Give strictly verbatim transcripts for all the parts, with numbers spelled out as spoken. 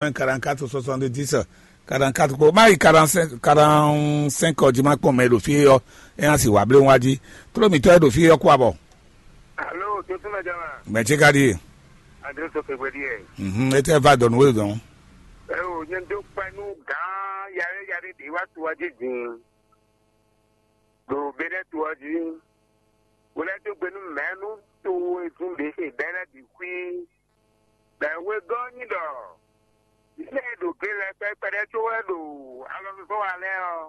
Quarante-quatre soixante-dix, quarante-quatre kpo. Má yi quarante-cinq, quarante-cinq ɔ́ jí má kpɔn mɛ e ɖo fí é ɔ́, é ná sì wǎ bléwún wá jí. Tló mǐtɔn e ɖo fí é ɔ́ kú abɔ. Alo, tó súnmọ́ jama. Mɛ ce ka ɖíe. Adré sɔ kegbe ɖíe. Mhm, e tɛ va dɔ nǔ e dɔn. Eo, nyɛ do kpɛ nú gǎn yare yare ɖě wá tu wá jí din. Ɖo Benɛ́ to ɔ́ jí. Wo lɛ́ dó gbe nú mɛ̌ nú to e zun ɖě e Benɛ́ bǐ xwí. Bɔ wegɔ́ ɔ́ nyi ɖɔ mɛ e ɖo gle lɛ́ɛ kpɛɖɛkpɛɖɛ có wɛ ɖo alɔmivɔ́ wa lɛ́ɛ ɔ́,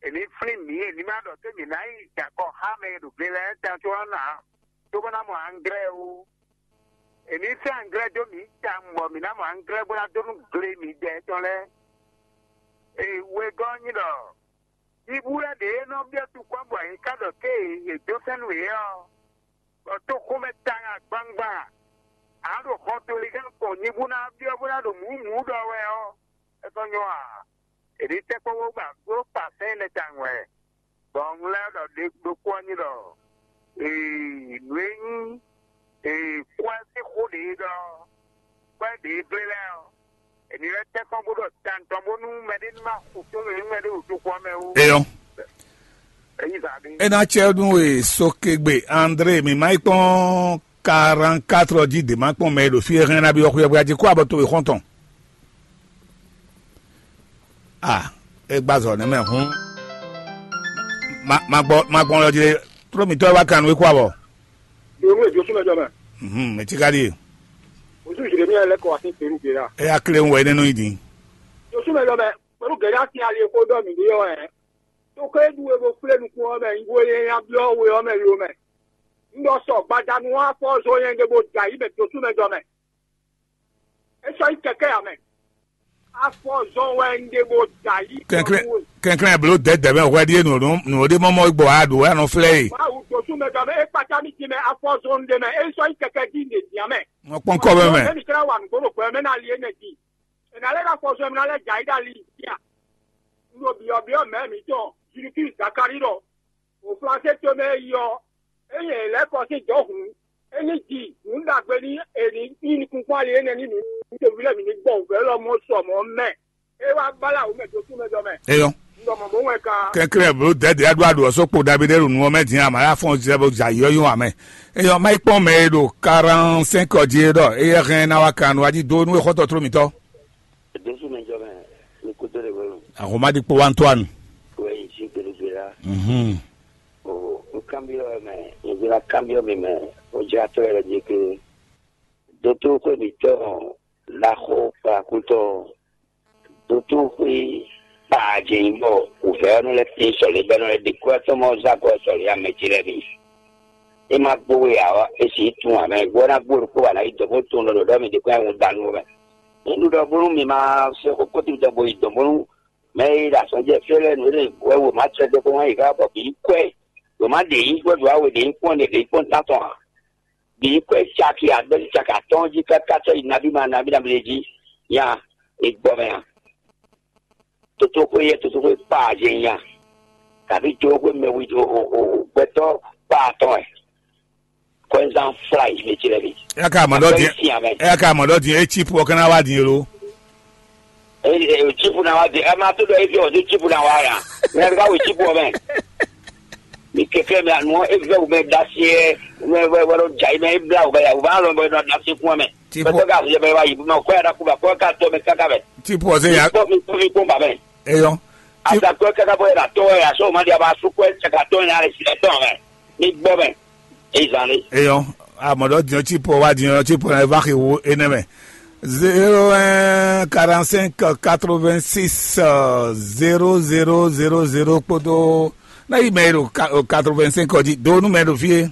è ní flín mǐ, è ní ma ɖɔ té mǐ ná yi jɛ akɔ xá mɛ e ɖo gle lɛ́ɛ tɛn có ɔ́ ná, cóbó ná mɔ anglɛ́ ó. È ní sɛ́ anglɛ́ dó mǐ tawun bɔ mǐ ná mɔ anglɛ́ bó ná dó nú gle mǐdɛɛ tɔn lɛ́ɛ. Ee, wegɔ́ ɔ́ nyi ɖɔ Ibú lɛ́ɛ ɖě e nɔ byɔ́ tukpɔ́ bɔ yě ká ɖɔ ké e yě dó sɛ́n nú yě ɔ́, bɔ toxomɛ tawun agbangban ǎ ɖo xɔntoli gán kpɔn nyibú ná byɔ́ bó ná ɖo mǔmú ɖɔ wɛ ɔ́, é sɔ́ nyɔ́ ǎ. È ɖi tɛ́kpɔ́ bó ba dó kpa sɛ́n énɛ́ tawun wɛ, bɔ un lɛ́ ɖɔ ɖokpó ɔ́ nyi ɖɔ ee, nǔ e nyí ee, kwɛ́ sín xó ɖě ɖɔ kwɛ́ ɖě glé lɛ́ɛ ɔ́, è nǐ lɛ́ tɛ́nkpɔ́n bó ɖɔ tantɔn bónú mɛɖé ní ma xo tó nú mɛɖé ɖo toxo ɔ́ mɛ ó. Eyɔ́. Ényí zǎ ɖé. É ná cɛ nú e Sokegbe André, mǐ má yi kpɔ́n quarante-quatre jí ɖě má kpɔ́n mɛ e ɖo fí e hɛn ná byɔ́ xwíyɔ́gbé jí kó abɔ towe xɔ́ntɔn. A, é gbá zɔ nɛ́ mɛ hǔn. Ma ma gbɔ ma gbɔn lɔ jí lé, tró mǐtɔn e wá kan nú é kó abɔ. Yòówù èjò súnmɛjɔ mɛ. Mhm, mɛ tí ka ɖíe. Ojú Jeremíà lɛ́ kɔ wá sí Perú gbéra. É yá klé ń wɛ énɛ́ nú yi din. Yòówù súnmɛjɔ mɛ, pẹ̀lú gẹ̀dá sí ali e xó ɖɔ mǐ ɖe ɔ́ ɛ. Tó ké ɖu e bo kplé nukún ɔ́ mɛ, nyígbó e nyanya byɔ́ we ɔ́ mɛ yo mɛ. Un ɖɔ sɔ gbadanu ɔ́ afɔ zɔn nyɛ ɖé bó jɛ ayǐ mɛ dǒ súnmɛjɔ mɛ. É sɔ́ nyí kɛkɛ́ ǎ mɛ. Afɔ zɔn wɛ un ɖe bó jɛ ayǐ. Kɛnklɛn kɛnklɛn blo dɛdɛ mɛ hwɛ ɖíe nǔ nǔ ɖé mɔmɔ gbɔ a ɖǒ wɛ nɔ flɛ e. Mawu dǒ súnmɛjɔ mɛ, é kpácá mì din mɛ, afɔ zɔn un ɖe mɛ, é sɔ́ nyí kɛkɛ́ jí un ɖe din ǎ mɛ. Wọ́n kpɔ́n kɔ́ mɛ mɛ. Mɛ mi tlá wa nǔgbó ɖo gbɛ mɛ ná li énɛ́ jí. È nǎ lɛ́ ɖo afɔ zɔn mɛ ná lɛ́ jɛ ayǐ ɖo ali jí a? Un ɖo byɔ̌byɔ́ mɛ̌ mǐtɔn Zilukíi Zakalíi ɖɔ: Wǒflansé tomɛ e yi ɔ́, ényí è lɛ́ kɔ sín jɔ̌ hǔn, é ní ji nǔ ɖagbe ní è ní nyí nukúnkún ali énɛ́ ní mǐ, mǐ ɖo vǐ lɛ́ɛ mǐ ní gbɔ wǔvɛ́ lɔmɔ̌ sɔ mɔ̌ mɛ. É wá bálá wǔ mɛ dó súnmɛjɔ mɛ. Eyɔ́. Un ɖɔ mɔ̌ bó wɛn ka. Kɛnklɛ́n blo dɛ̌dɛ̌ ɖó aɖǔ ɔ́ só kpo David ɖo nǔ ɔ́ mɛ din ǎ, mǎ yá fɔ́n zɛ bó za yɔ́yɔ́ ǎ mɛ. Eyɔ́, má yi kpɔ́n mɛ e ɖo quarante-cinq ɔ́ jí é ɖɔ éyɛ́ hɛn ná wá kan nú wá jí dó nú é xɔ́ntɔn tló mǐtɔn. Désú mɛ jɔ mɛ, ní kútó ɖe wéwu. Ahoma ɖi kpo wa ntɔ́ anu. Wɛ yi sí gběɖégbé la. Mhm. O, n kanbyɔ́ mɛ, n jla kanbyɔ́ mi mɛ, o jla tɔ́ yɛ di ke. Dótó xwé mǐtɔn, laxó kplakútɔn, dótó xwé kpaajɛ nyí bɔ wǔvɛ́ ɔ́ nɔ lɛ́ tín sɔlě bɔ é nɔ lɛ́ ɖe kú ɔ́ tɔn mɔ zá gɔ́ sɔlě amɛ ce lɛ́ɛ mi. É ma gbó we ǎ ɔ́, é sixú tunwun ǎ mɛ. Gbɔ ná gbó ɖokpó wǎ ná yi dɔ̌n bó tunwun ɖɔ ɖɔ̌ mi ɖě kɔn nyi wǔ da nú we mɛ. Nǔɖuɖu ɔ́ bónú mi ma se xó kpótí dɔn bo yi dɔ̌n bónú mɛ e ɖo azɔn jɛ fí lɛ́ɛ nǔ e wɛ wǒ ma cɛ dɔn bó ma yi xá bɔ bǐ kwɛ wǒ ma ɖe yí gbɔ ɖo awe ɖe yí kpɔ́n ɖe ɖe yí kpɔ́n tántɔn ǎ. Bǐ kwɛ caki agbɛ́sí caki atɔ́ɔ́n jí káká sɔ́ yi nabí ma nabí nabí jí nya e gbɔ mɛ a? Toto xwé yɛ toto xwé kpa azɛ nya. Kabi jo xwé mɛ wi o o o gbɛtɔ́ kpa atɔn ɛ. Kɔnzan fla yi mɛ tsi lɛ bi. Ẹ ká mọ̀ dɔ dín. Ẹ ká mọ̀ dɔ dín. E chip wɔ kɛnɛ wa dín lo. E e chip na wa dín. Ẹ ma tó dɔ ebi ɔ ní chip na wa ya. Mɛ ká wo chip wɔ mɛ. Mi kɛkɛ mɛ anu e vɛ wo mɛ dasi yɛ. Wɛ wɛ wɛ lɔ dza yi mɛ e bla wo bɛ ya. Wo ba lɔ bɛ nɔ dasi kun mɛ. Chip. Bɛ tɔ ka fiyɛ bɛ wa yi ma kɔ ya da kuba kɔ ka tɔ mɛ kaka mɛ. Chip wɔ se ya. Kpɔ mi kpɔ mi kpɔ ba mɛ. Eyɔ. Asa kɔ kaka bɔ ya tɔ ya sɔ ma di a ba su kɔ kaka tɔ ya le si tɔ mɛ. Mi gbɔ mɛ. Ezali. Eyɔn, amɔ̌ ɖɔ din ɔ́ cí pɔ wá din ɔ́ cí pɔ ná é va xi wú énɛ́ mɛ. Zéro un quarante cinq quatre vingt six zéro zéro zéro zéro kpódó ná yi mɛ e ɖo quatre vingt cinq ɔ́ jí dó nú mɛ e ɖo fí é.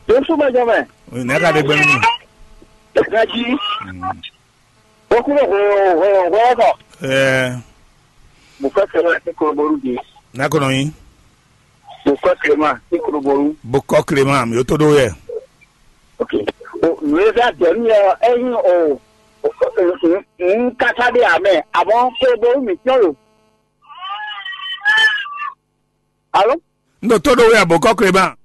Tó súnmọ́ jọ mɛ. Nɛ̌ ka ɖe gbɛ́ nú mi? Gají. Okúrò hwɛ̌ hwɛ̌ hwɛ̌ kɔ. Ɛɛ. Bùkọ́ Clément ní Koloboru di. Ná kɔnɔ yín. Bùkọ́ Clément ní Koloboru. Bùkọ́ Clément, mi ó tó ɖó yɛ. Ok. O nùyé fẹ́ jọ ní ẹ ẹyin o nkata de amẹ àmọ́ Koloboru mi tiọ́ lo. Alo. N ɖo tó ɖó yɛ Bùkọ́ Clément.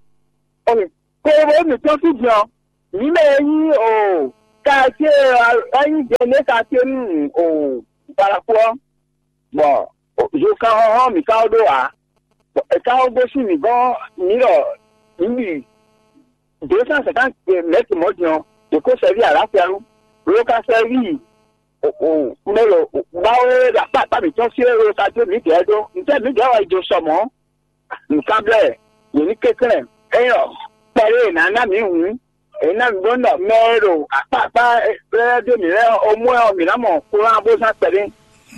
Ok. Koloboru mi tiọ́ sí jọ. Mǐ mɛ e nyí o ka ce ɔ́, é nyí jɛ nɛ́ ka ce nú o Balakú ɔ́, bɔ zo kan xɔxɔ mǐ ka wó ɖó ǎ. Bɔ è ka wó gosín mǐ gɔ́n mǐ ɖɔ mǐ ɖi deux cent cinquante mètres mɔ̌ din ɔ́, yě ko sɛví alǎfianu, lo ka sɛví mɛ ɖo Mawu e ɖo akpá akpá mǐtɔn sí é lo ka dó mǐdɛɛ ɖó. Ntɛ́ɛ mǐdɛɛ wɛ yi dó sɔ mɔ̌? Nǔ ka blɛ́ yě ní kɛnklɛ́n. Ényɔ kpɛɖé è nǎ ná mǐ hǔn, è nǎ mǐ ɖó nɔ mɛ e ɖo akpá akpá lɛ́ɛ dó mǐ lɛ́ɛ ɔ́, omwɛ ɔ́, mǐ ná mɔ kplɔ́n bó zán kpɛɖé.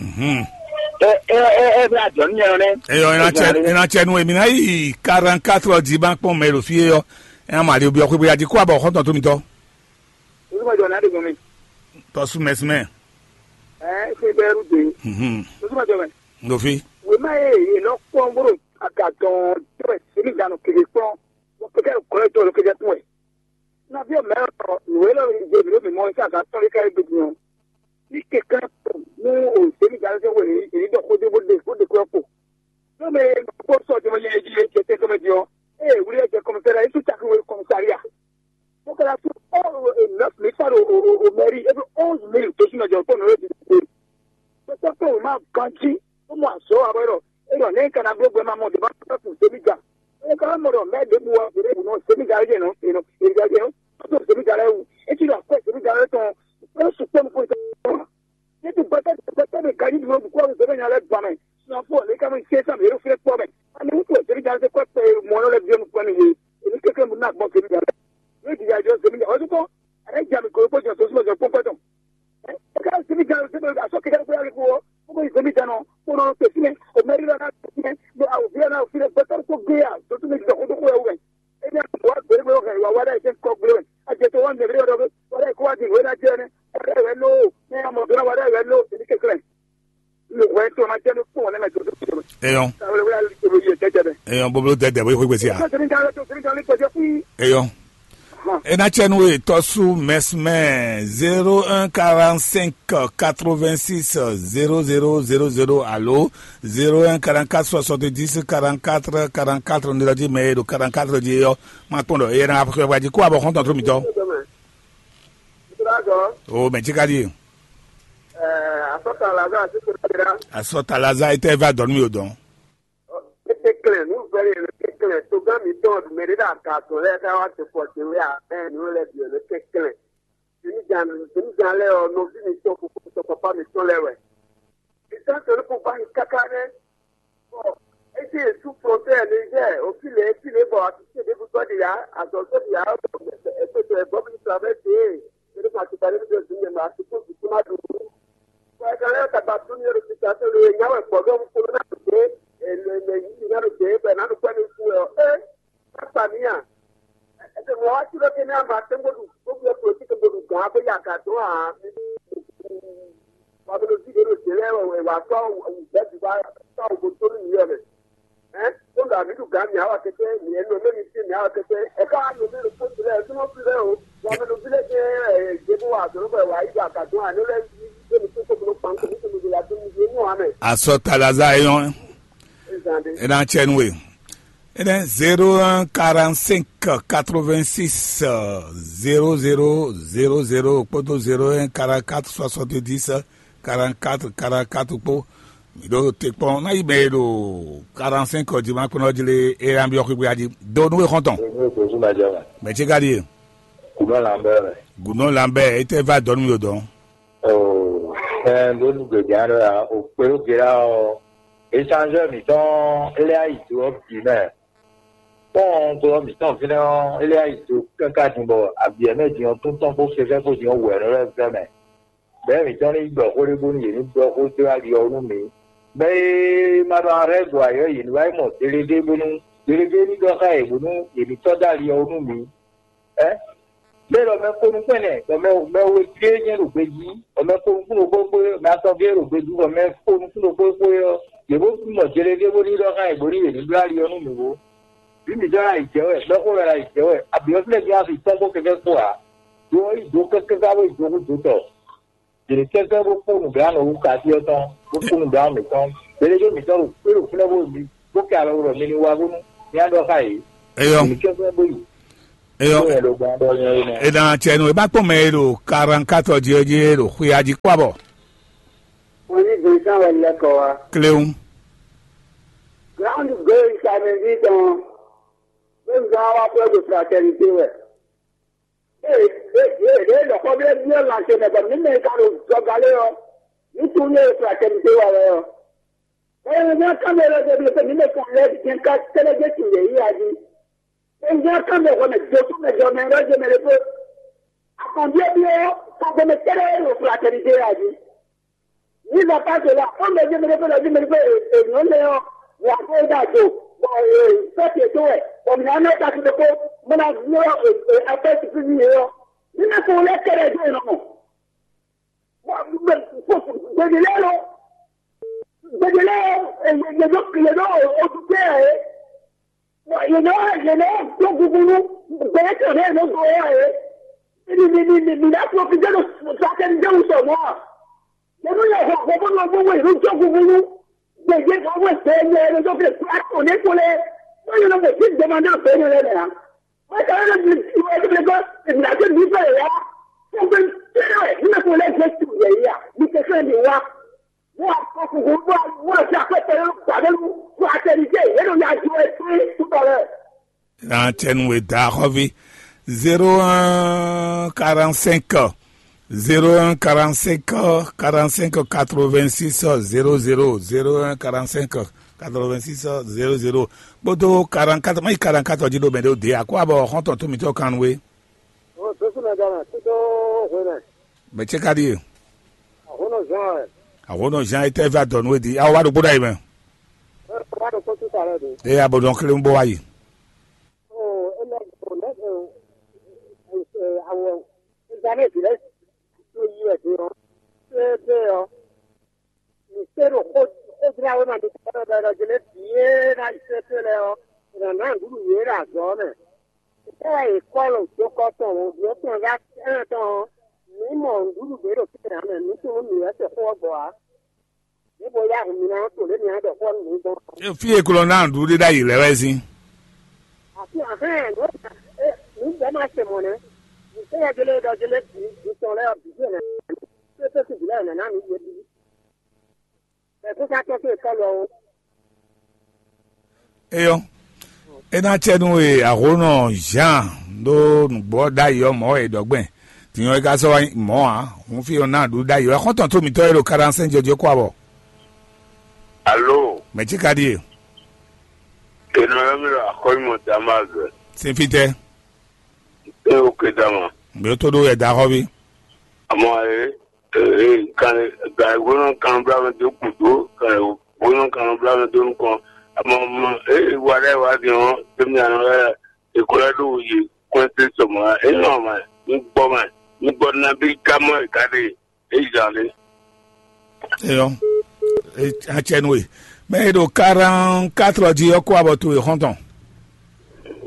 Mhm. É é é é vɛ́ ajɔ̌ nú nyɛ nɛ́. Eyɔ, ina cɛ ina cɛ nu emi na yi quarante-quatre heures di ban kpɔn mɛ ɖo fie yɔ. Ina ma ɖe biɔ xwegbe adi kó abɔ xɔtɔn to mitɔ. Ozuma jɔ na de gɔmi. Tɔsu mɛsmɛ. Ɛ ṣe bɛ ru de. Mhm. Ozuma jɔ mɛ. Ndo fi. Wema ye ye lɔ kpɔn bro agadɔn jɔ semi dano kele kpɔn. Kɛkɛ kɔɛ tɔ lo kɛkɛ tun wɛ. Na fi mɛ nù e lɔ je mi lo mi mɔ sa ka tɔ ka e do. Ni kɛkɛ nú o semi dano jɔ wɛ ni dɔ ko de bo de ko de ko ko. Nome kpɔ́ sɔ jɔmɔjɛ jí é jɛ tɛ́ tɔmɛ jí ɔ́, ée wlí ɛ jɛ kɔmɔsária, é sú cakí wé kɔmɔsária. Bó ka sú ɔ́ neuf mille fa ɖo o mairie, é ɖo onze mille tó sú nɔ jɛ kpɔ́ nɔ é ɖi. Pɛtɛ́ kpɔ́ wěma ganjí, bó mɔ azɔ̌ wa bɔ é ɖɔ, é ɖɔ nɛ̌ ka ná bló gbɛ ma mɔ dě ma fún Semiga. É ka mɔ ɖɔ mɛ ɖěbǔ wá gběɖé bǔ nɔ Semiga é jɛ nɔ, é nɔ, é jɛ nɔ, tó Semiga lɛ́ɛ wú. É cí ɖɔ akwɛ́ Semiga lɛ́ɛ tɔn, é sukpɔ́ nukɔn tɔn. Nítorí gbɛtɛ gbɛtɛ mi ka yí dúró kó àwọn ìgbésẹ̀ yẹn lẹ gbà mɛ. Sọ fún ọ̀lẹ́ ká mi ṣe sàmì èrò fẹ́ pọ̀ mẹ́. A ní wútu ẹ̀sẹ̀ níjà ṣe kọ́ pé mọ́ lọ lẹ bí ẹnu pẹ́ mi yé. Èmi kékeré mu náà gbọ́n ṣe níjà lẹ. Yóò jìjà ìjọ ṣe níjà. Ọdún kọ́, ẹ̀rẹ́ jà mí kò kó jọ sọ́sọ́ jọ pọ́npẹ́ tán. Ẹ ká ṣe níjà ṣe pé aṣọ kékeré pé yàrá kó wọ́. Ó kó ṣe níjà náà. Kó lọ pèsè mẹ́. O mẹ́rin lọ́dá pèsè mẹ́. Lọ àwòfin náà òfin rẹ̀ gbẹ́tọ́ kó gbé yà. Tó tún mi jọ kó tó kó yà wúrẹ̀. Ebi a wá gbèrè gbèrè ọkàn ìwà wá dá iṣẹ́ kọ́ gbèrè wẹ̀. A jẹ tó wá nẹ̀rẹ́ ọ̀dọ́ pé wá dá ikú wá dì wẹ́ dá jẹ́ ní wá dá ìwẹ́ ló ní ọmọ tó náà wá dá ìwẹ́ ló ní kékeré. Ní ìwẹ́ tó máa jẹ́ ní kó wọn lẹ́mẹ̀ tó tó tó. Eyɔn. Káwé wíwá lè tó yẹ jẹ́jẹ́ bẹ́ẹ̀. Eyɔn bóbuló dɛdɛ bó yẹ kó gbèsè à. Tó sẹ́ni ká tó sẹ́ni ká lè tọ́jú fún yín. Eyɔn. Ena cɛ nu e tɔsu mɛsmɛ zéro un quarante-cinq quatre-vingt-six zéro zéro zéro zéro alo zéro un quarante-quatre soixante-dix quarante-quatre quarante-quatre nilɔdi mɛ e ɖo quarante-quatre di yɔ. Ma kpɔn ɖɔ eyɛ na xɔ wá jí kó abɔ xɔntɔn tó mi tɔ. O mɛ tsi ka di ye. Asɔta laza ete klɛn nú vɛlɛ yɛlɛ ete klɛn togán mi tɔn mɛ ɖé ɖo aga tɔn lɛ ká wá ti fɔ ti wɛ abɛ nú lɛ bi ɔlɛ ete klɛn. Zimizan zimizan lɛ ɔ nɔvi mi tɔn koko tɔn papa mi tɔn lɛ wɛ. Ìtàn sọ̀rọ̀ kó bá yín káká nẹ́. Bɔ esi esu frontière Niger, ofile efile bɔ asise ɖe butɔ ɖi ya, azɔzɔ ɖi ya, egbetɔ ɛbɔ bi sɔ bɛ de, ere ma tuta ɖe butɔ zi nyɛ ma asi kó zi kó ma ɖu. Bɔ ɛga lɛ tagba tún yɛ ɖo sisa to le nya wɛ gbɔ ɖɔ ŋkolo na ɖo de, ele le yi na ɖo de, bɛ na ɖo kpɛ mi fu ɛ ɔ, e papa mi ya. Ɛsɛ mo wa ti ɖɔ ke ne ama tɛngo ɖu, ko bi ɛ klo ti ke bo ɖu gan be ya ka dɔn a. Wabolozi ɖe ɖo dze lɛ wɛ wa tɔ wubɛdu wa tɔ wo to nu yɛ mɛ. Ɛ ko ɖo ami ɖu gan mi awa kɛkɛ mi ɛnɔ mɛ mi se mi awa kɛkɛ ɛ ka nɔ mɛ ɖo kpo lɛ ɛsɛ mɔ fi lɛ o. Wabolozi lɛ kɛ ɛ dze bo wa dɔrɔ bɛ wa yi do akadun a ne lɛ yi mi to ko bolo kpan ko mi to mi de la to mi de nu amɛ. Asɔ talaza eyɔn. Ezan de. Ena cɛ nu e. Ene zéro un quarante-cinq quatre-vingt-six zéro zéro zéro zéro kpódó zéro un quarante-quatre soixante-dix quarante-quatre quarante-quatre kpó. Mi ɖo te kpɔn ná yi mɛ e ɖo quarante-cinq ɔ́ jí ma kpɔn ɔ́ jí lé e an byɔ́ xwé gbé adi do nú e xɔntɔn. Èmi ò tó súnmọ́ jẹ́ wọn. Mɛ ce ka ɖi e. Kùnú lambert rẹ̀. Gùnú lambert e tɛ va dɔn nú mi ɖo dɔn. Oh, ɛ lónú gbèdé aɖe ya o kpé ó gé ɖá ɔ. Échange mǐtɔn é lɛ́ yi do ɔ́ bǐ mɛ. Kpɔ́n gbɔ mǐtɔn fínɛ́ ɔ́, é lɛ́ yi do káká din bɔ abǐ ɛnɛ din ɔ́ tún tɔn kpó kɛkɛ́ kpó din ɔ́ wǔ ɛnɛ lɛ́ɛ vɛ́ mɛ. Bɛ̌ mǐtɔn ní gbɔ xó ɖé bónú yě ní ɖɔ xó dó ali ɔ́ nú mǐ. Bɛ́ é ma ɖɔ arɛ́ gbɔ ayɔ́ yě ní wá yi mɔ Delegé bónú Delegé ní ɖɔ xá yě bónú yě ní tɔ́ dó ali ɔ́ nú mǐ. Ɛ lé ɖɔ mɛ ko nukún ɛnɛ bɔ mɛ mɛ we gé nyɛ ɖo gbejí bɔ mɛ ko nukún ɖokpó kpó mɛ atɔn gé ɖo gbejí bɔ mɛ ko nukún ɖokpó kpó ɔ́ yě bó mɔ jelede bó ní ɖɔ xá yě bó ní yě ní bló ali ɔ́ nú mǐ bó. Bí mǐ zɔ́n ayǐ jɛ wɛ mɛ xó wɛ ayǐ jɛ wɛ abǐ ɔ́ flɛ́ gbé afi tɔn bó kɛkɛ́ kpó ǎ. Ɖó yi dó kɛkɛ́ ká bó yi dó gúdo tɔ. Yě kɛkɛ́ bó kpó nǔbláwǔ káfí ɔ́ tɔn bó kpó nǔbláwǔ mǐtɔn. Jelede mǐtɔn ɖo kpé ɖo fúnɛ́ bó mi bó kɛ alɔ ɖɔ mi ní wá bónú mi á ɖɔ xá yě. Eyɔ. Yě kɛkɛ́ bó yi. Eyɔ. Ɛ ló gbɔn ɖɔ nyɛ yi nɛ. Ena cɛnu e ba kpɔn mɛ e ɖo karankatɔ jí ɔ́ jí e ɖo xwia jí kpɔ abɔ. Wọ́n ní Vincent wɛ lẹ́kọ̀ọ́ wa. Kléwún. Ground goal samedi tɔn. Vincent wa pẹ́ do fraternité wɛ. Ee ee ee ee lɔkɔ bi lɛ bi lɛ lanse mɛ bɔ mi mɛ ka ɖo zɔgale ɔ. Mi tu ne fraternité wa wɛ ɔ. Ee mi kan bɛ lɛ de bi lɛ mi mɛ kan lɛ bi ka tɛlɛ de tu yɛ yi a di. Ee mi kan bɛ xɔ mɛ do tu mɛ jɔ mɛ lɛ de mɛ lɛ ko. Akɔnbiɛ bi ɔ ka gbɔ mɛ tɛlɛ yɛ ɖo fraternité a di. Ní bàbá tó la, ó lè dé mẹ́lẹ́fẹ́ lọ dé mẹ́lẹ́fẹ́ ènìyàn lé ọ́, wà á tó dà tó, bọ̀ fẹ́ẹ̀tì ètò ẹ̀, bọ̀ mí á ná ta sí pé mo ná gbé ọ́ ẹ̀fẹ́ ti fi yé ọ́. Nínú kó lẹ́ kẹ́rẹ́ dé ìrànwọ́. Gbèdélé lọ, gbèdélé yẹ̀dọ́ yẹ̀dọ́ ojú tẹ́ ẹ̀. Yěnɔ yěnɔ dó gúgúnú gbɛɛ tɔn ɖe yěnɔ dó wá yě. Mi mi mi mi mi ná fɔ fi jɛnu satɛni jɛnu sɔ mɔ. Yěnɔ yɛ hɔ hɔ bó nɔ gbogbo yěnɔ dó gúgúnú. Gbèdé kan wɛ gbɛɛ yɛ yěnɔ dó fi kúrá tɔn ɖe kpó lɛ. Bó yěnɔ mɛ fi dɛmɛ náà gbɛɛ yěnɔ lɛ mɛ ná. Wọ́n ṣe àwọn ẹgbẹ́ ìwé ẹgbẹ́ ẹgbẹ́ ìgbìyànjú mi fẹ́ yà. Wọ́n gbé tẹ́lẹ̀ nígbà tí wọ́n lè gbé tù yẹ̀ yà. Mi tẹ́fẹ́ mi wá. Wọ́n á kọ́ kúkú wọ́n á wọ́n á ṣe àpẹẹrẹ ló gbà lóru. Wọ́n á tẹ̀lé jẹ́ ìyẹn ló yà ju ẹ pé túbọ̀ rẹ̀. Ran cɛnu e da xɔvi zéro un quarante cinq zéro un quarante cinq quarante cinq quatre vingt six zéro zéro zéro un quarante cinq quatre vingt six zéro zéro kpódó quarante quatre mayi quarante quatre jí ɖo mɛ ɖé de akó abɔ xɔntɔn tó mitɔ kan nue. Ɔ sɔsɔ na dana tó tó hwɛ nɛ. Mɛ tse ka ɖi e. Ahonɔ Jean ɛ. Ahonɔ Jean etɛ va dɔ nue di awo wa ɖo kpódó ayi mɛ. Ɛ wa ɖo kpótó ta lɛ do. Eye abɔ dɔn kelen bɔ wa yi. Ɔ ɛ lɛ ɔ lɛ ɛ ɛ awɔ. Ezalée vǐ lɛ́ɛ to yi wɛ din ɔ́, fé fé ɔ́, mǐ kpé ɖo xó xójláwéma mitɔn lɛ́ɛ ɖɔ ɖɔ jlé vǐ e ná yi sɛ́sɛ́ lɛ́ɛ ɔ́, è nǎ ná nǔɖuɖu yě ɖo azɔ̌ ɔ́ mɛ. È ká wá yě kɔ ɖo dokɔ tɔn wǒnví ɔ́ tɔn ɖó atɛ́nɛ tɔn ɔ́, mǐ mɔ nǔɖuɖu ɖě ɖo fí ǎ mɛ, mǐ tunwun nú mǐ wɛ se xó ɔ́ gbɔ ǎ. Mǐ bo yá hun mi ná to lě mǐ ná ɖɔ xó ɔ́ nú mǐ gbɔn. Fí e klɔ ná nǔɖuɖu ɖé ɖ'ayǐ lɛ́ɛ wɛ sín. Àti àhɛn ló ní bɛ́ má ṣe mɔ̌ nɛ́. Nǔ tɛ́ wɛ délé ɖɔ délé bǐ bǐ tɔn lɛ́ɛ bǐ jɛ nɛ́. Pépé sín bǐ lɛ́ɛ nɛ́ ná mi yé bí. Bɛ̌ kúsá tɔ́ tó ìkọlù ɔ́. Eyɔ, é ná cɛ nú e ahónɔ Jean ɖó nǔgbó ɔ́ ɖ'ayǐ ɔ́ mɔ̌ e ɖɔ gbɛn. Din ɔ́, é ka sɔ́ wá nyí mɔ̌ ǎ. Hǔn fí ɔ́ ná ɖu ɖ'ayǐ ɔ́, xɔ́ntɔn tó mǐtɔn e ɖo Kadansɛn jɔjɔ́ kó abɔ. Alo, Mɛ̌ cí ka ɖíe? È nɔ ylɔ́ mì ɖɔ Akɔ́nyimɔ Damaz wɛ. Sín fítɛ́? É o ke da ma. Mǐ ó tó ɖó wɛ daxɔ́ví. Àmọ́ ẹ ẹ kan gǎngbónú kan blá mɛ dó kùdó, gǎngbónú kan blá mɛ dó nukɔn. Àmọ́ mɔ ẹ wa lɛ wa din ɔ́, tẹ́mi àná lɛ èkó lɛ ɖo yě kɔn tɛ sɔmɔ ẹ nɔ mɛ, mi gbɔ mɛ, mi gbɔ nabí ká mɔ ẹ ká ɖe. Eyi zan ɖe. Eyɔ, atsɛnu e mɛ e ɖo quarante quatre jí ɔ́ kó abɔ towe xɔ́ntɔn.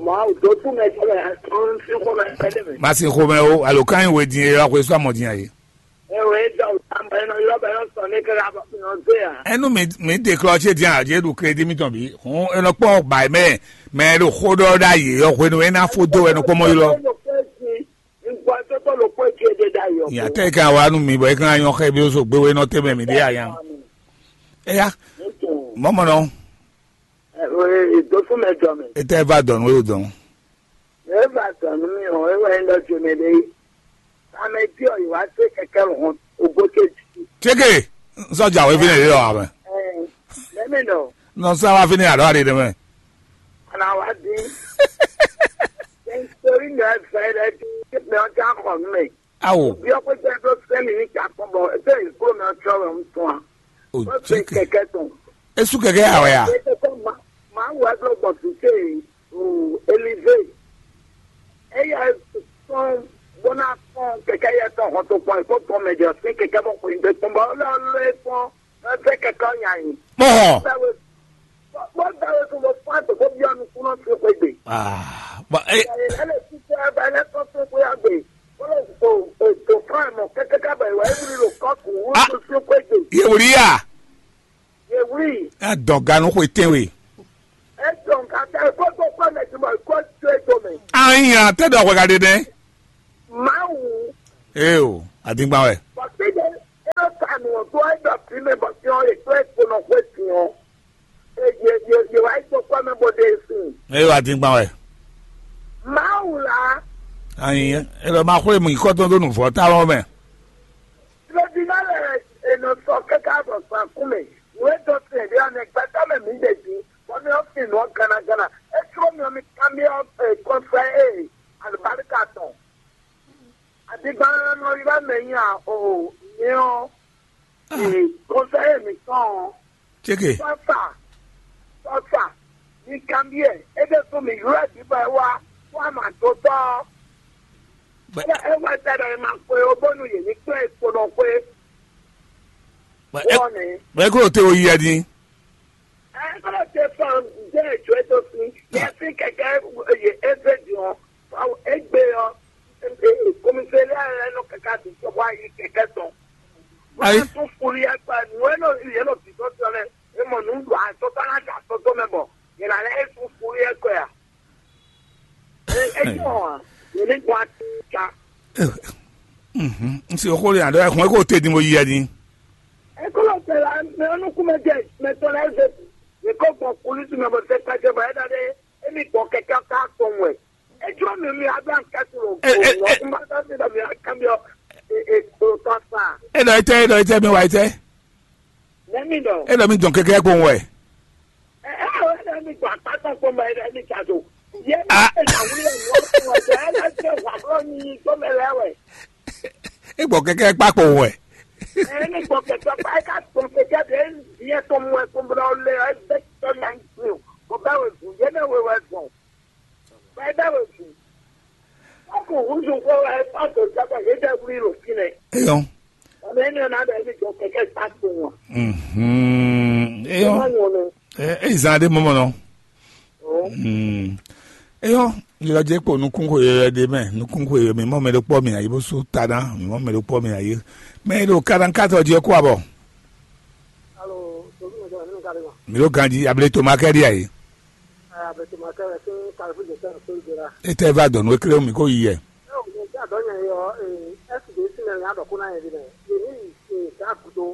Mawu dó tún mɛ jɔ mɛ atún sí xó mɛ kɛdɛ mɛ. Masin xomɛ o, alo kan nyi we din e ɔ́ xwe sɔ amɔ din ayi. Ɛ o e dɔ o tamba e nɔ ylɔ bɛ nɔ sɔ ne kɛlɛ abɔ fi nɔ zé a. Ɛnu mi mi de klɔ tse din a, je ɖu crédit mitɔn bi. Hun e nɔ kpɔ ba mɛ mɛ e ɖo xó ɖɔ ɖ'ayǐ ɔ́ hwenu e ná fó dó wɛ nɔ kpɔmɔ ylɔ. Ŋgbɔ tó tó ló kpó jí ede da yɔ. Ìyá tẹ́ kan wá nú mi bɔ é kan nyɔ xɛ bí ó so gbé wé nɔ tɛmɛ mi ɖé aya. Eya, mɔmɔ nɔ. Ìdó fún mi jọ mi. Ete va dɔn wé dɔn. Ẹ bá dɔn nú mi ọ̀ ẹ wá yín lọ jọ mi lé. Ame tí ọ̀ ìwà ṣe kẹ̀kẹ́ lọ́hùn ogbó kejì. Tsékè, sɔjà wé fi lè lọ àmì. Lẹ́mí nọ. Nọ sáwá fi ní àdó àdé dẹ́mẹ́. Ana wa dín. Nítorí ní ẹsẹ̀ rẹ̀ ti pé ọjà kọ̀ mí. Awo. Bí ọkọ̀ jẹ́ tó sẹ́ni ní kakpọ̀ bọ̀, ẹsẹ̀ ìkúrò mi ọjọ́ rẹ̀ ń tún wa. O Ó sì jẹ́ kẹ̀. Kẹ̀kẹ́ tún. Esu kẹ̀kẹ́ yà wẹ̀ yà. Kẹ̀kẹ́ tó ma- máa wọ ẹgbẹ́ ọgbọ̀n tó ṣe o Elize. Eya tún gbọ́nà fún kẹ̀kẹ́ yẹ tán hàn tó pọ̀ ẹ̀kọ́ tán mẹ̀jọ sí kẹ̀kẹ́ bọ̀ pé ìgbẹ́ tó ń bọ̀ ọ́ lọ́ọ́ lé fún ẹsẹ̀ kẹ̀kẹ́ ọ̀yà yìí. Mọ̀ hàn. Bó dáwé tó lọ fún àgbẹ̀ kó bí ọ̀nù kúrò sí pé gbè. Ah, bɔn e Ẹ̀yìn lẹ́lẹ̀ títí ẹgbẹ́ ẹlẹ́kọ́ tó pé àgbẹ̀ kó lọ tó ètò fún àmọ̀ kẹ́kẹ́ kábẹ̀ ìwà ìwúrí lò kọ́kù wúrú Ah. tó sí pé gbè. Ye wuli ya. Yẹ wúrí. A dɔn ganu ko tɛn we. Ẹ jọ nǹkan tẹ kó tó pẹ́ mẹ́tìmọ̀ kó tó e dó mɛ. Ayin a, tɛ dɔ hwɛ ka ɖe nɛ? Mawu. Ee o, adingban wɛ. Bɔn tɛgbɛ e nɔ ta nǔ ɔ́ dó e dɔ fǐ mɛ bɔ fí ɔ́ e tó e kpo nɔ xwé sin ɔ́, e ye ye ye wá yi kpɔkpɔ mɛ bɔ ɖe sin. Ee o, adingban wɛ. Mawu la. Ayin, e lɔ ma xwé mu nyikɔ tɔn dó nuvɔ ta lɔ mɛ. Lobina lɛ e nɔ sɔ kɛkɛ bɔ san kún mɛ. Nǔ e dɔ sin ɖe ɔ́ nɛ gbɛtɔ mɛ mǐ ɖe jí, bɔ mì ɔ́ fin nǔ ɔ́ gannaganna. É tró mì ɔ́ mi kanbyɔ́ kɔnfɛ e alibáríka tɔn. Adigbannɔ yi wá mɛ nyi a o mi ɔ́, kɔnfɛ e mǐtɔn ɔ́. Céke. Sɔsa, sɔsa, mi kanbyɔ́ ɛ, é ɖésú mi ylɔ́ ɛ bǐ bɔ é wá, wá ma dó tɔ́. Bɛ- É wá tɛ ɖɔ è ma xwe ó bónú yě ní kplɔ́n ɛ kpo nɔ xwé. Bɛ- é- Wɔ nɛ. Bɛ é kúrò te o yi ɛ din. Ɛ kɔlɔ tɛ fɔn jẹ́ ìjọ ètò sí. Yẹ sí kẹ̀kẹ́ yẹ ézé dì ọ́. Fáwọn égbé ọ́. Komiseri alẹ́ nù kẹ̀kẹ́ àti ìjọba yìí kẹ̀kẹ́ tán. Ayi. Wọ́n tún fúri ẹgbẹ́ nu ẹ̀ lọ yẹ lọ bìtọ́ sọ lẹ. Ẹ mọ̀ nù lù àtọ́tọ́ láti àtọ́tọ́ mẹ́ bọ̀. Yẹn lálẹ́ ẹ̀ tún fúri ẹgbẹ́ à. Ẹ ẹ yọ̀ hàn. Yẹn ní gbọ́n àti ìjà. N sì xó lè àdó ẹkùn ẹ kó tè dín bó yí ẹ ní. Ekolo tela mɛ ɔnu kumɛ jɛ mɛ tɔ lɛ ze. Eko gbɔn kulisi mɛ bɔ tɛ kpɛtɛ bɔ ɛda de emi gbɔn kɛkɛ ka tɔn wɛ. Ejɔ mi mi abla nkɛtu lo. Ɛ, ɛ, ɛ. N ba ta mi da mi akambiɔ. E e o tɔ sa. E dɔ etɛ, e dɔ etɛ mi wa etɛ. Nɛ mi dɔ. E dɔ mi dɔn kɛkɛ kpɔn wɛ. Ɛ ɛ o e dɔ mi gbɔn akpatɔ kpɔn bɔ e dɔ mi ta do. Yɛ mi Ah. E na wuli ɛ nɔ kpɔn wɛ. Ɛ ɛ se wa bɔ ni tɔ mɛ lɛ wɛ. E gbɔn kɛkɛ kpa kpɔn wɛ. Ɛ ne gbɔn kɛkɛ kpa e ka gbɔn kɛkɛ de e yɛ tɔ mu ɛ kpɔn bɔ lɛ ɛ bɛ tɔ na yi o. Bɔ bɛ wɛ gun yɛ ne wɛ wɛ gbɔn. Bɛ bɛ wɛ gun. Ɔkò wúzú kó wɛ pàtó jábọ̀ yé dẹ́ wúlí lò fínɛ. Eyɔn. Ọmọ ẹni ọ̀nà àbẹ̀ ẹni jọ kẹ̀kẹ́ pàtó wọn. Mhm. Eyɔn. Ọmọ wọn nù. Ɛ ɛ zan ɖe mɔmɔ nɔ. Ɔ. Mm. Eyɔn, yɔ jɛ kpo nukun ko yɔ ɖe mɛ, nukun ko yɔ mi mɔ mɛ ɖo kpɔ mi ayi bó sú ta ná, mi mɔ mɛ ɖo kpɔ mi ayi. Mɛ ɖo kaɖankatɔ jɛ kó abɔ. Alo, tòbí mi jọ nínú kárí wọn. Mi ɖo ganji abile to ma kɛ ɖi ayi. Ɛ abile to ma kɛ rẹ sí kálífù jẹ sẹ́yìn tó jẹra. Etɛ va dɔnu ekele mi ko yi yɛ. Ɛ o mi jẹ àdó yẹn yọ ɛ ẹsì dé sí mẹ́rin àdó kó náà yẹn di mẹ. Yèmí yìí ṣe ìdá àgùdó,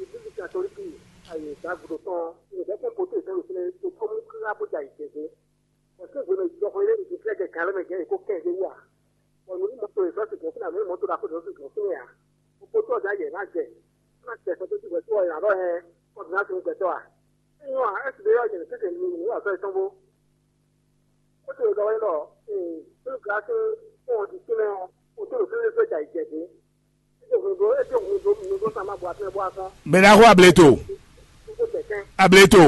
ìdílé katolíkì, àyè ìdá àgùdó tán. Ìdẹ́kùn kò tó ìfẹ́ òfin tó tó mú kíláàbù jà ìjẹ̀dẹ́. Bɔn sín hwenu e jɔxɔ lé ɖo fínɛ́ jɛ gǎn lɛ́ɛ mɛ gɛ́ yě kó kɛ yě wú a? Bɔ nǔ mɔto e sɔ́ sɔgɔ̌ fínɛ́, nǔ mɔto ɖaxó ɖě sɔ́ sɔgɔ̌ fínɛ́ ǎ. Kókó tɔ́ ɔ́ jǎ yě ná jɛ, ná jɛ sɔ́ tó jí hwɛ tó ɔ́, yě ná ɖɔ hɛn kɔ́ bǐ ná sixú gbɛtɔ́ a? É nyɔ́ ǎ, ɛ́ sixú ɖé ɔ́, yě nǐ tɛ́ntin nǔ nǔ azɔ́ yětɔn bó. Ó to wěgɔ́ wɛ ɖɔ ee, Pélugla sín kpɔ́n ɔ́ ɖi tínmɛ ɔ́, xo tó ɖo fínɛ́ fínɛ́ jɛ ayǐ jɛ dě. É ɖo hwǐndo, é ɖo hwǐndo nǔɖó tama bɔ atín ɛ bó wá sɔ́. Mɛ ná xo ableto. Kókó tɛ̀tɛ́n. Ableto.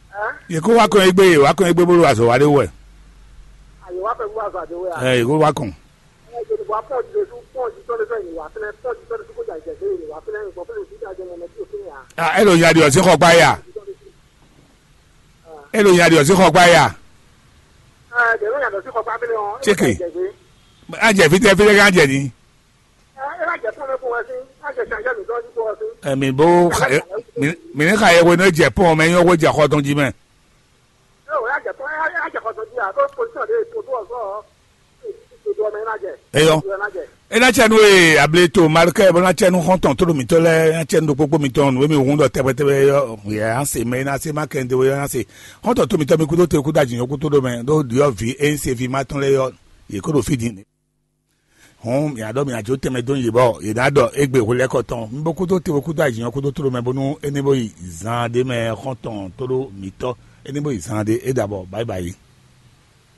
Ɛ? Yě kó wá kɔn égbé, yě wá kɔn égbé bó ɖo azɔ̌ wa ɖé wɛ. Àyè wá fẹ́ bó wá zɔ àdéhùn yà. Ɛ yě kó wá kɔn. Ɛ jẹ́ bó wá pọ́n jí lóṣù, pọ́n jí tọ́ lóṣù ẹ̀yìn wá fẹ́lẹ́, pọ́n jí tọ́ lóṣù kó jà ìjẹ́ dé ìwà fẹ́lẹ́, nǹkan fẹ́lẹ́ òsì jà jẹ́ mọ̀mọ́ tí ò fẹ́lẹ́ yà. Ah, elo nya ɖi ɔsí xɔ gbá ya. Elo nya ɖi ɔsí xɔ gbá ya. Ɛ dẹ̀ ló yàtọ̀ sí kọ̀ọ̀pá fẹ́lẹ́ wọn. Chékè. Á jẹ fítẹ́ fítẹ́ ká jẹ ní. Ɛ ẹ má jẹ fún mi fún wọn sí, má jẹ sàn jẹ́ mi tọ́ sí fún wọn sí. Ẹ̀mí bó mi ní ka yẹ wo ní jẹ pọ́n mẹ́ yín owó jẹ xɔ tɔn jí mẹ́. Ɛ wò yá jẹ fún ẹ yá jẹ xɔ tɔn jí àbó pòlísì ọ̀dẹ́ ètò tó ọ̀sán ọ̀ ètò ọmọ ẹ má jẹ. Eyɔ. Ẹ má jẹ. E na cɛ nu e ableto malikɛ bɔ na cɛ nu xɔntɔn to do mitɔ lɛ na cɛ nu do kpokpo mitɔ nu emi hun dɔ tɛpɛtɛpɛ yɔ yɛ an se mɛ na se ma kɛ nde yɔ na se xɔntɔn to mitɔ mi kudo te kudo ajinyo kudo do mɛ do diɔ vi e se vi ma tɔn lɛ yɔ ye ko do fi din. Hɔn mi adɔ mi ajo tɛmɛ do yi bɔ ye na dɔ egbe hwelɛ kɔtɔn mi bo kudo te kudo ajinyo kudo to do mɛ bonu ene bo yi zan de mɛ xɔntɔn to do mitɔ ene bo yi zan de e da bɔ bayi bayi.